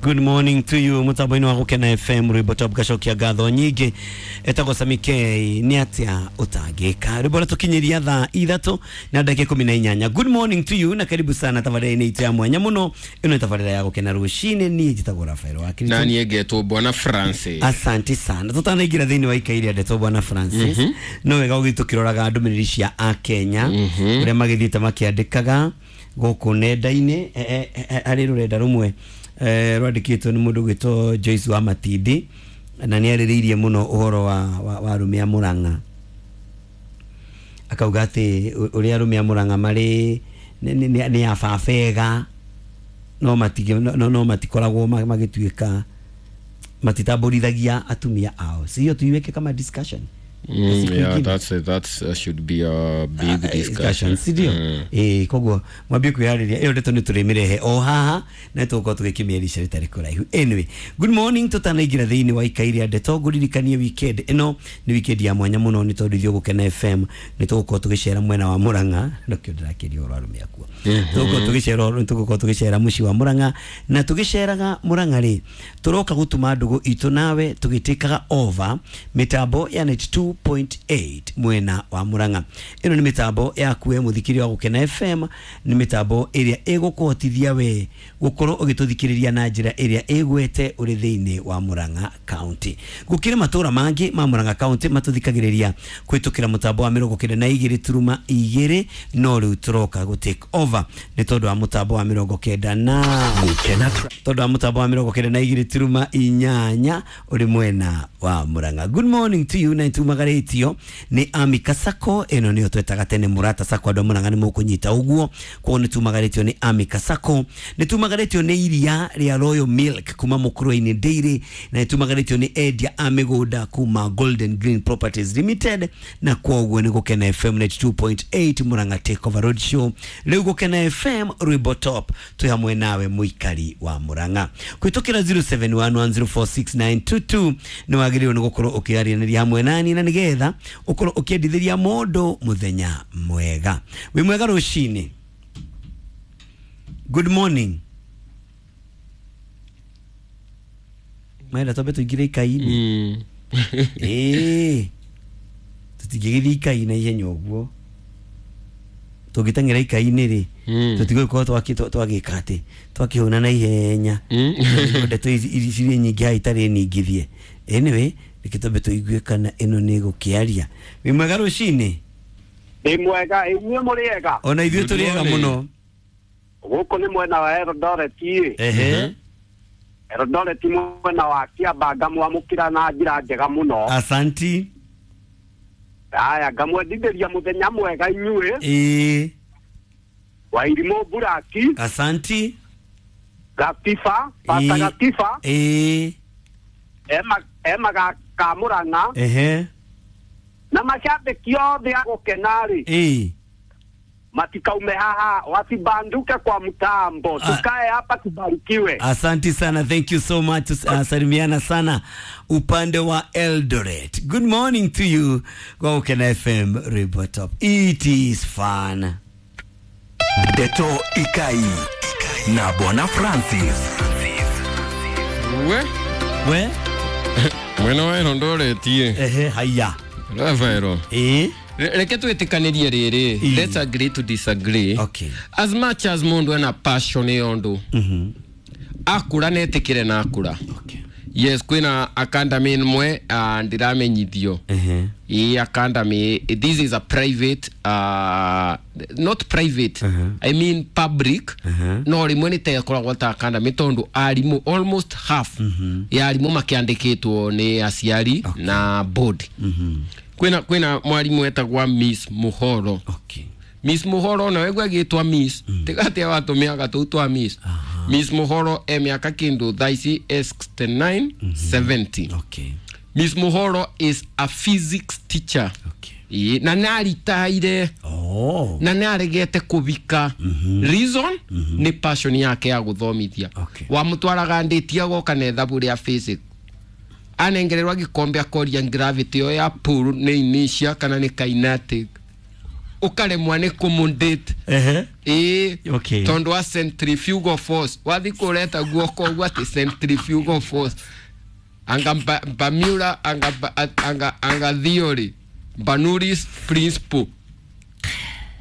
Good morning to you mutambo-inĩ wa Gũkena FM rwĩmbo top gacokia ngatho nyingĩ etagwo Sami K nĩ atĩa ũtangĩka rwĩmbo rũtũkinyĩria thaa 3 na ndagĩka 18. Good morning to you na karibu sana tabarĩra-inĩ itũ ya mwanya mũno. Ĩno nĩ tabarĩra ya Gũkena rũcinĩ. Niĩ njĩtagwo Rafael wa Kristo na niĩ ngetwo Bwana Francis. Asante sana. Tutanaingĩra thĩinĩ wa ikai rĩa ndeto Bwana Francis, no wega ũgĩthiĩ tũkĩroraga ndũmĩrĩri cia akenya ũrĩa magĩthiĩte makĩandĩkaga gũkũ nenda-inĩ. Harĩ rũrenda rũmwe rwandĩkĩtwo nĩ mũndũ ũgwĩtwo Joyce wa Matindi, na nĩ arĩrĩirie mũno ũhoro wa arũme a Mũrang'a, akauga atĩ ũrĩa arũme a Mũrang'a marĩ nĩ ababega no no matikoragwo magĩtuĩka matitambũrithagia atumia ao. Si hiyo tuiweke kama discussion? Yeah, that's should be a big discussion. Si ndio? Koguo mwambie kwĩharĩria ĩyo ndeto nĩ tũrĩmĩrehe o haha na tũgũkorwo tũgĩkĩmĩarisha rĩtarĩ kũraihu. Anyway, good morning. Tũtanaingĩra thĩinĩ wa ikai rĩa ndeto, ngũririkanie weekend ĩno nĩ weekend ya mwanya mũno nĩ tondũ ithuĩ Gũkena FM nĩ tũgũkorwo tũgĩcera mwena wa Mũrang'a. Nĩkĩo ndĩrakĩria ũhoro wa arũme akuo. Tũgũkorwo tũgĩcera mũciĩ wa Mũrang'a, na tũgĩceraga Mũrang'a rĩ, tũroka gũtuma ndũgũ itũ nawe tũgĩtĩkaga over mĩtambo ya 92.8 mwena wa Mũrang'a. Ĩno nĩ mĩtambo yaku we mũthikĩria wa Gũkena FM, nĩ mĩtambo ĩrĩa ĩgũkũhotithia we gũkorwo ũgĩtũthikĩrĩria na njĩra ĩrĩa ĩgwete ũrĩ thĩinĩ wa Mũrang'a County. Gũkĩrĩ matũra mangĩ ma Mũrang'a County matũthikagĩrĩria kũhĩtũkĩra mũtambo wa 92.2, no rĩu tũroka gũ take over nĩ tondũ wa mũtambo wa 90 na tondũ wa mũtambo wa 92.8 ũrĩ mwena wa Mũrang'a. Good morning to you. Na tumagarĩtio nĩ Amika Sacco. Ĩno nĩyo twetaga tene Mũrata Sacco, andũ a Mũrang'a nĩ mũkũnyita ũguo. Koguo nĩ tumagarĩtio nĩ Amika Sacco, nĩ tumagarĩtio nĩ iria rĩa Royal Milk kuma Mũkũrwe-inĩ Dairy, na nĩ tumagarĩtio nĩ endia a mĩgũnda kuma Golden Green Properties Limited. Na koguo nĩ Gũkena FM 92.8 Mũrang'a Take Over Road Show. Rĩu Gũkena FM rwĩmbo top twĩ hamwe nawe mũikari wa Mũrang'a kũhĩtũkĩra 0711046922. Nĩ wagĩrĩirwo nĩ gũkorwo ũkĩaranĩria hamwe nani na nĩgetha ũkorwo ũkĩendithĩria mũndũ mũthenya mwega. Wĩ mwega rũcinĩ. Good morning. Maenda twambe tũingĩre ikai-inĩ. Tũtingĩgĩthiĩ ikai na ihenya ũguo. Tũngĩteng'era ikai-inĩ rĩ, tũtigũgĩkorwo twagĩka atĩ twakĩhũna na ihenya. Ndeto ici cirĩ nyingĩ haha itarĩ ningithie. Anyway, reke twambe tũigue kana ĩno nĩ ĩgũkĩaria. Wĩ mwega rũcinĩ? Ndĩ mwega, inyuĩ mũrĩ ega? Ona ithuĩ tũrĩ ega mũno. Gũkũ nĩ mwena wa Eldoret. Eldoret mwena wa Kiambaa, ngamwamũkĩra na njĩra njega mũno. Asanti. Aya, ngamwendithĩria mũthenya mwega inyuĩ. Wairimũ Buraki. Asanti. Gatiba, Pasta Gatiba. Ema ga Mũrang'a. Na mashabiki othe a Gũkena rĩ, matikaume haha, wasibanduke kwa mtambo, tukae hapa tubarikiwe. Asante sana, thank you so much. Salimiana sana upande wa Eldoret. Good morning to you kwa Gũkena FM Rwĩmbo Top. It is fun. Ndeto Ikai na Bwana Francis. We mwena wa Eldoret. Haya Rafael. Reke twĩtĩkanĩrie rĩrĩ, let's agree to disagree. Okay. As much as mũndũ ena passion ĩyo ndũ akũra netĩkĩre na akũra. Okay. Yes, kwĩna academy ĩmwe ndĩramenyithio. Ĩ academy, this is a private, not private, I mean public. No rĩmwe nĩ tekoragwo ta academy tondũ arimũ almost half ya arimũ makĩandĩkĩtwo nĩ aciari na board. Kwĩna mwarimu etagwa Miss Muhoro. Okay. Miss Muhoro na wegwa gĩtwa Miss tigatia watũmĩaga tũu twa Miss. Miss Muhoro e mĩaka kĩndũ thaa ici 69 70. Okay. Miss Muhoro is a physics teacher. Okay. Na nĩaritaire. Na nĩaregete kũbika. Reason nĩ passion yake ya gũthomithia. Okay. Wamũtwaraga ndĩtia goka na ithabu rĩa physics. Anengererwa gikombe akoria gravity yo ya pool nĩ inertia kana nĩ kinetic. Ukaremwa nĩ kũmũndate. Ehe. Ĩĩ. Okay. Tondũ wa centrifugal force wathi kũreta guoko ũguo atĩ centrifugal force anga Bamura anga anga theory Bernoulli's principle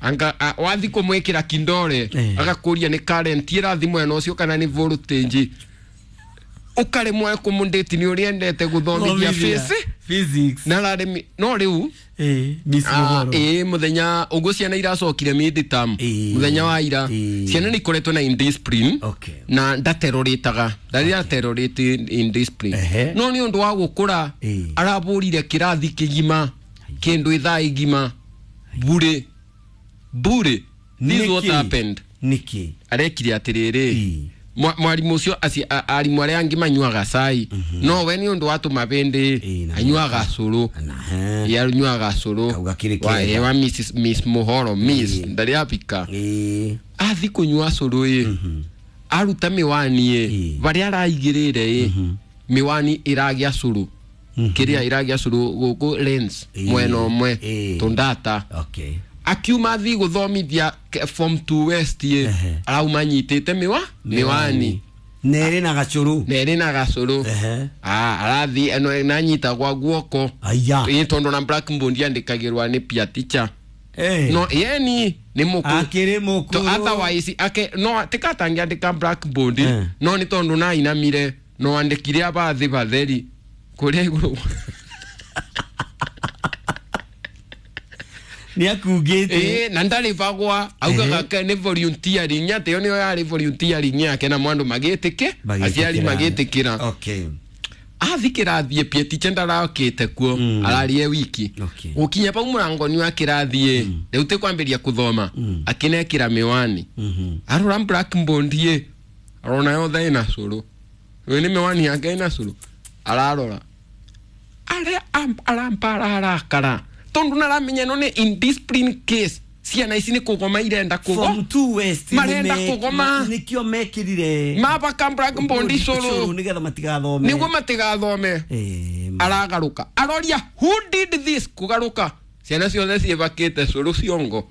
anga wathi kũmwĩkĩra kindore agakũria nĩ current ĩrathi mwena ũcio kana nĩ voltage. Ukaremwo kũmũndate nĩ ũrĩa endete gũthomithia physics na araremi no rĩu Miss Muhoro. Mũthenya ũguo ciana iracokire mid-term mũthenya wa ira ciana nĩ ikoretwo na indiscipline. Okay. Na ndaterorĩtaga ndarĩ aterorĩte indiscipline no nĩ ũndũ wa gũkũra arabũrire kĩrathi kĩgima kĩndũ ithaa igima bure bure. This what happened. Nĩkĩ arekire atĩrĩrĩ mwarimũ ũcio arimũ arĩa angĩ manyuaga cai no we nĩ ũndũ wa tũmabĩndĩ anyuaga cũrũ. Anyuaga cũrũ wa Miss Muhoro Miss ndarĩ apika athi kũnyua cũrũ ĩ aruta mĩwani ĩ barĩa araigĩrĩre ĩ mĩwani ĩragĩa cũrũ kĩrĩa ĩragĩa cũrũ gũkũ lens mwena ũmwe tũndata. Okay. Akiuma thi gũthomithia form 2 West ye arauma nyitĩte miwani nerĩ na gacũrũ nerĩ na gacũrũ arathi eno nanyita gwa guoko aya ĩ tondũ na blackboard yandĩkagĩrwa nĩ peer teacher no yeni nĩ mũkũrũ akĩrĩ mũkũrũ otherwise ake no tikatangĩandĩka blackboard no nĩ tondũ nainamire no andĩkire abathi batheri kũrĩa igũrũ nĩ akungĩte na ndarĩbagwa augaga nĩ volunteering atĩ ĩyo nĩyo yarĩ volunteering yake na mwandu magĩtĩke aciari magĩtĩkĩra. Okay. Athi kĩrathi pie teacher ndarakĩte kuo ararie wiki gũkinya pau mũrango-inĩ wa kĩrathi rĩu tĩ kwambĩrĩria kũthoma akĩnekĩra mĩwani arora blackboard ĩ arona yothe ĩna cũrũ ĩyo nĩ mĩwani yake ĩna cũrũ ararora arĩa aramba arakara tondu naramenya no nĩ indiscipline case ciana ici nĩ kũgoma irenda kũgoma form 2 West marenda kũgoma nĩkĩo mekĩrire mabaka blackboard cũrũ nĩgetha matigathome nĩguo matigathome aragarũka aroria who did this kũgarũka ciana ciothe ciĩbakĩte cũrũ ciongo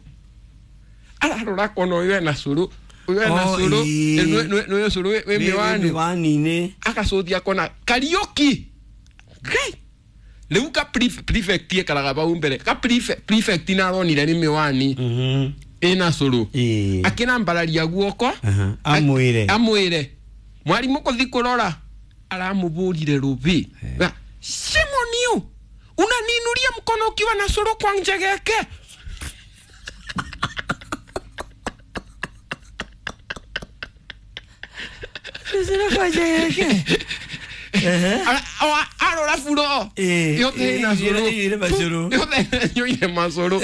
ararora kona ũyũ ena cũrũ ũyũ ena cũrũ nĩũyũ cũrũ wĩ mĩwani mĩwani-inĩ agacũthia kona Kariũki Ngai rĩu ka prefect ekaraga pau mbere ka prefect naronire nĩ mĩwani ĩna cũrũ akĩrambararia guoko amwĩre mwarimũ kũthi kũrora aramũbũrire rũbĩ shame on you unaniinuria mkono ukiwa na cũrũ kwa njegeke arora furo yothe ĩna cũrũ yothe yoire macũrũ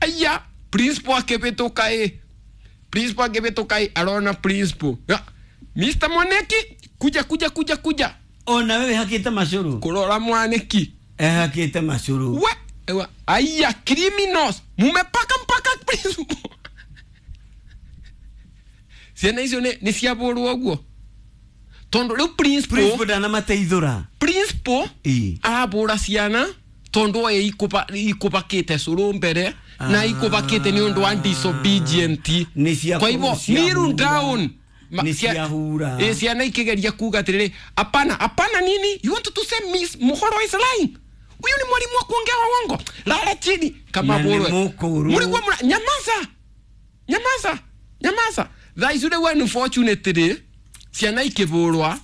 aya principal akĩbĩtũka ĩ principal akĩbĩtũka ĩ arona principal Mr. Mwaneki kuja kuja kuja kuja ona wewe hakĩte macũrũ kũrora Mwaneki hakĩte macũrũ we aya criminals mumepaka mpaka principal ciana icio nĩ ciabũrwo ũguo tondu riu principal ndanamateithũra principal arabũra ciana tondu oĩ ikũbakĩte cũrũ mbere na ikũbakĩte nĩ ũndũ wa disobedient kwa hivyo kneel down nĩ ciahura ciana ikĩgeria kuga atĩrĩrĩ hapana hapana nini you want to say Miss Muhoro is lying huyu ni mwalimu wa kuongea uongo lala chini kama bũrwe mũrigwo nyamaza nyamaza nyamaza thaa icio rĩu unfortunately ciana ikĩbũrwa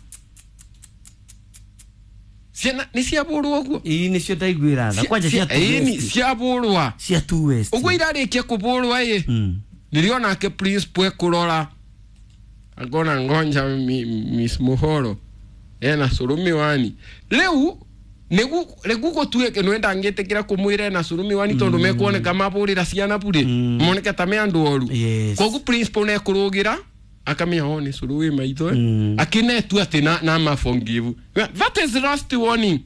ciana nĩ ciabũrwo ũguo ĩĩ nĩcio ndaiguĩra tha kwanja cia ĩĩ ciabũrwa cia two West ũguo irarĩkia kũbũrwa ĩ nĩrĩo nake principal ekũrora akona ngonja Miss Muhoro ena cũrũ mĩwani rĩu nĩgu gũtuĩke nĩ ndangĩtĩkĩra kũmwĩra ena cũrũ mĩwani tondũ mekuoneka mabũrĩra ciana burĩ moneke ta me andũ oru koguo principal nĩekũrũgĩra akamenya oh nĩ cũrũ wĩ maitho akinetu atĩ na maforgive that is last warning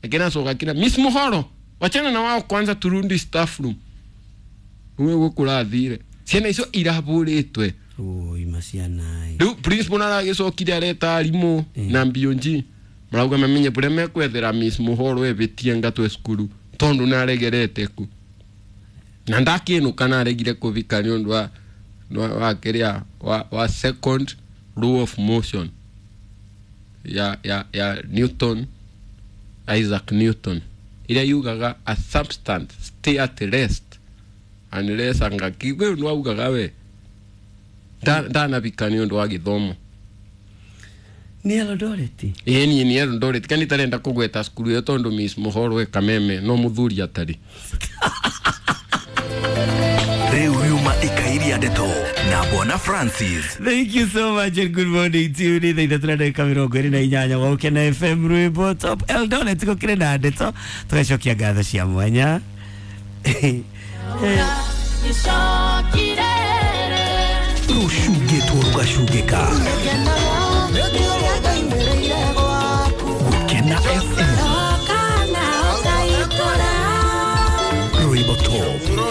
akinacoka kina Miss Muhoro wachana na wao kwanza turundi staff room uwe gũkũrathire ciana icio irabũrĩtwe oi maciana rĩu principal naragĩcokire areta arimũ na BOG marauga mamenye bũrĩa mekwethera Miss Muhoro ebĩtie ngatwe cukuru tondũ naregerete ku Na ndakinuka naregire kuvika ni undu wa kiria wa second law of motion ya Newton, Isaac Newton, iria yugaga a substance stay at rest unless anga kigwe ndu augaga we ndanabika ni undu wa githomo. Nĩ Eldoret. Ĩĩ niĩ nĩ Eldoret kani tarenda kũgweta cukuru ĩyo tondũ Miss Mũhoro e Kameme no mũthuri atarĩ. Rĩu riuma ikairia ndeto na Bwana Francis. Thank you so much and good morning to you. Nĩ thaa ithatũ na ndagĩka 28 wa Ũkena FM rwĩmbo top Eldoret gũkĩrĩ na ndeto tũgacokia ngatho cia mwanya. Rũcungĩtwo rũgacungĩka.